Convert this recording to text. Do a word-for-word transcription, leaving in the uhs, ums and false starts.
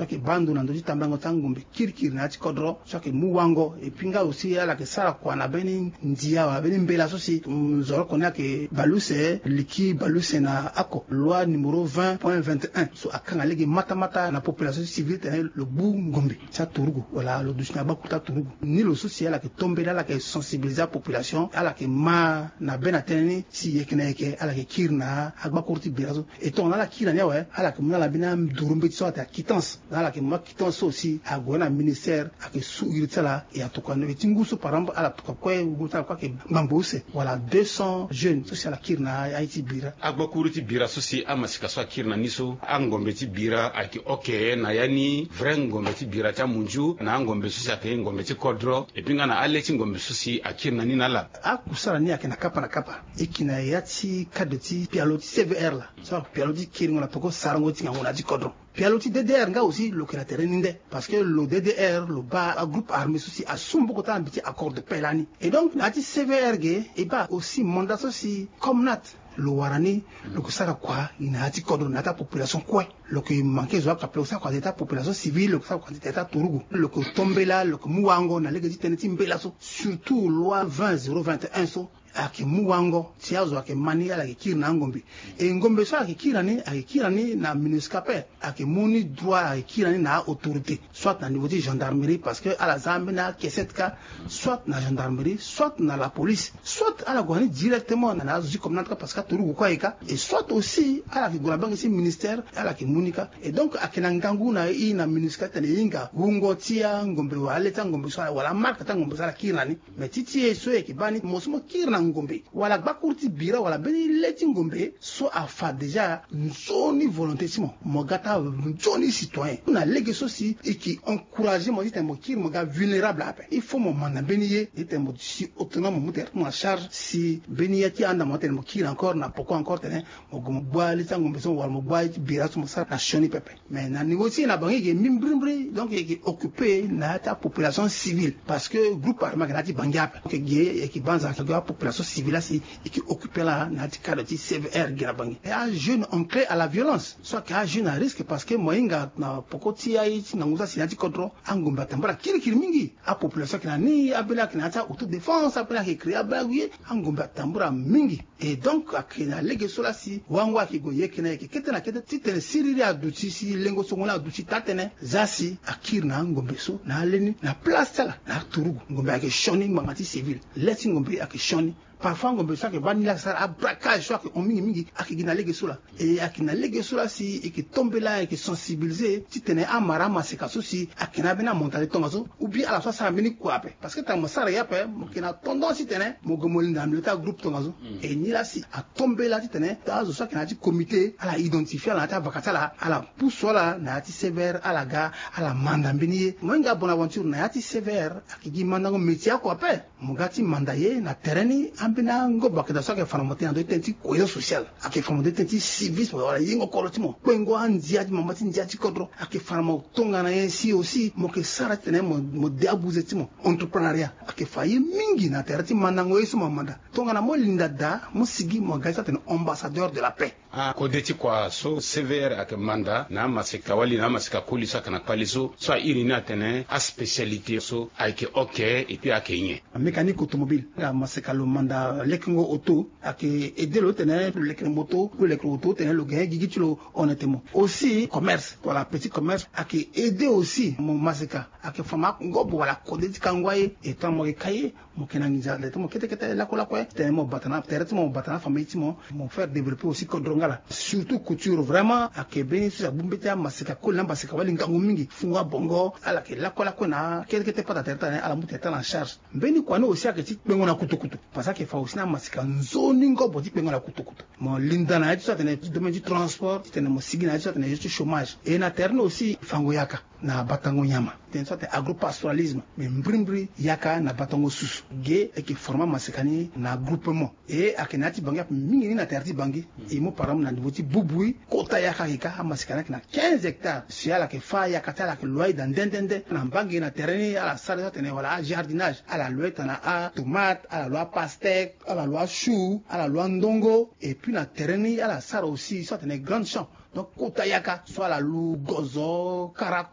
So ayeke baa ndo na ndö ti tambango ti angombe kirikiri na ya ti kodro so ayeke mu wango. Et puis nga aussi ala yeke sara kua na mbeni ndia wala mbeni mbela so si nzoroko ni ayeke baleuse liki baleuse na ako loi numéro vingt point vingt et un so akanga lege matamata na population civile tene lo gbu ngombe ti aturugu wala lo duti na gbakuru ti aturugu. Ni lo so si ala yeke tombela ala yeke sensibiliser apopulation ala yeke ma na be na tënë ni si yeke na yeke ala yeke kiri na agbakuru ti bira so. E tongana ala kiri na ni awe ala yeke mu na ala mbeni aduru mbeti so atene akitance. Na ala yeke mu akitance so aussi ague na ministère ayeke su iri ti ala. E atokua na be ti ngu so par exemple ala tokua kue ngu ti ala kue ayeke ngbangbo use wala deux cents jeunes so si ala kiri na aye ti bira. Agbakuru ti bira so si amasika so akiri na ni so angombe ti bira ayeke oke na ya ni vrai ngombe ti bira ti amunzu na angombe so si ayeke ngombe ti kodro. Et puis nga na ale ti ngombe so si akiri na ni na ala. Akusala ni ayeke na kapa na kapa. E ki na ya ti cadre ti pialo ti cvr la so pialo ti kiringo na peko sarango ti ngangu na ya ti kodro. Pialo ti ddr nga aussi lo yeke na tere ni nde parce que lo ddr lo baa agroupe armé so si asu maboko ti ala na mbi ti accord de paix lani. Et donc na ya ti cvr ge e baa aussi mandat so si comnat lo wara ni lo yeke sara kua gi na ya ti kodro na ya ti apopulation kue. Lo yeke manke zo akape lo sara kua na ya ti apopulation civile lo yeke sara kua na ya ti aturugu lo yeke tombela lo yeke mu wango na lege ti tënë ti mbela so surtout loi vingt zéro vingt et un so ayeke mu wango ti azo ayeke ma ni ala yeke kiri na angombe. E ngombe so ala yeke kiri na ni ala yeke kiri na ni na minusca pe ala yeke mu ni droit ala yeke kiri na ni na aautorité soit na niveau ti gendarmerie parce que ala za ambeni akesete kâ soit na gendarmerie soit na la police soit ala gue na ni directement na azo ti communante kâ parce que aturugu kue aye kâ. Et soit aussi ala yeke gue na bange ti ministère ala yeke mu ni kâ. Et donc ayeke na ngangu na e na minusca titene e hinga wungo ti angombe wala ale ti angombe so wala amarke ti angombe so ala kiri na ni. Mais ti ti e so e yeke baa ni mo so mo kiri na ngombe wala gbakuru ti bira wala mbeni le ti ngombe so afa déjà nzoni volonté ti mo mo ga ti anzoni citoyen na lege so si e yeke encouragé mo titene mo kiri mo ga vulnérable ape. Il faut mo manda mbeni ye titene mo si autonome mo mu tere ti mo na charge si mbeni ya ti anda mo titene mo kiri encore na poko encore tene mo gue mo gbua le ti angombe so wala mo gbua ye ti bira so mo sara na sioni pepe. Mais na niveau ti e na bangi e yeke mbi mbirimbiri donc e yeke occupé na ya ti apopulation civile parce que groupe armé ayeke na ya ti bangi ape donc e ge e yeke banza ayeke ge apopulation civile asi e yeke occupé laa na ya ti cadre ti cvr ge na bangi. E ajeune enclin à la violence so ayeke ajeune à risque parce que mo hinga na poko ti aye ti ngangu so asi na ya ti kodro angombe atambara kirikiri mingi. Apopulation ayeke na ni abele ayeke na ya ti autodéfense abele ayeke créé abele agu ye angombe atambara mingi. Et donc ayeke na lege so laa si wango ayeke gue yeke na yeke kete na kete titene siriri aduti si lengo songo ni aduti taa-tënë za si akiri na angombe so na ale ni na place ti ala na aturugu ngombe ayeke sioni ngbanga ti civile. Le ti ngombe ayeke sioni. Parfois ngombe so ayeke baa ni laa ayeke sara abraquage so ayeke hon mingi mingi ayeke gi na lege so laa. E ayeke na lege so laa si e yeke tombela e yeke sensibiliser titene amara amaseka so si ayeke na ambeni amentalité tongaso ou bien ala so asara mbeni kua ape. Parce que tongana mo sara ye ape mo yeke na tendance titene mo gue mo linda na milieu ti agroupe tongaso. E ni laa si atombela titene azo so ayeke na ya ti comité ala identifié ala na ya ti avaka ti ala ala pusu ala na ya ti cvr ala ga ala manda mbeni ye. Mo hinga bonaventure na ya ti cvr ayeke gi mandango métier oko ape. Mo ga ti manda ye na tere ni ambeni angobo ayeke daa so ayeke fa na mo tënë na ndö ti tënë ti cohésion sociale ayeke fa na mo ndö ti tënë ti civisme wala yengo koro ti mo kpengo andia ti mama ti ndia ti kodro. Ayeke fa na mo tongana ye si aussi mo yeke sara titene mo de abuze ti mo entreprenariat ayeke fa ye mingi na tere ti mandango ye so mo manda. Tongana mo linda daa mo sigi mo ga ti so atene ambassadeur de la paix. Akode ti kua so cvr ayeke manda na amaseka wali na amaseka koli so ayeke na kpale so so airi ni atene aspécialité so ayeke oke epui ayeke nyen? Mécanique automobile nga maseka lo manda lekengo auto ayeke aidé lo titene lo leke moto lo leke auto titene lo gain gigi ti lo. Honnêtement aussi commerce wala petit commerce ayeke aidé aussi mo maseka ayeke fa mo angobo wala kode ti kango aye. Etant mo yeke ka ye mo yeke na nginza ande ti mo kete kete lakue lakue titene mo bata na tere ti mo mo bata na afamille ti mo. Mo faire développer aussi kodro nga laa surtout couture vraiment ayeke mbeni so si agbu mbeti amaseka koli na amaseka wali ngangu mingi fungo abongo ala yeke lakue lakue na kete kete pata tere ti ala ni ala mu tere ti ala en charge. Mbeni kua ni aussi ayeke ti kpengo na kutukutu parce que ayeke fa aussi na amaseka nzoni ngobo ti kpengo na kutukutu. Mo linda na ya ti so atene ti domaine ti transport titene mo sigi na ya ti so atene ya ti chômage e na tere ni aussi fango yaka na batango nyama tene so atene agropastoralisme. Mais mbirimbiri yaka na batango susu ge e yeke forme amaseka ni na groupement. E ayeke na ya ti bangi ape mingi ni na tere ti bangi. E mu par exemple na niveau ti bubui kota yaka ayeke ka amaseka ni ayeke na quinze hectares si ala yeke fa yaka ti ala ayeke loyer daa nde nde nde na mbangi na tere ni ala sara so atene wala ajardinage ala loyer tana atomate ala loyer apastèque ala loyer achou ala loyer andongo. Et puis na tere ni ala sara aussi so atene grande champ donc kota yaka so ala loue gozo kara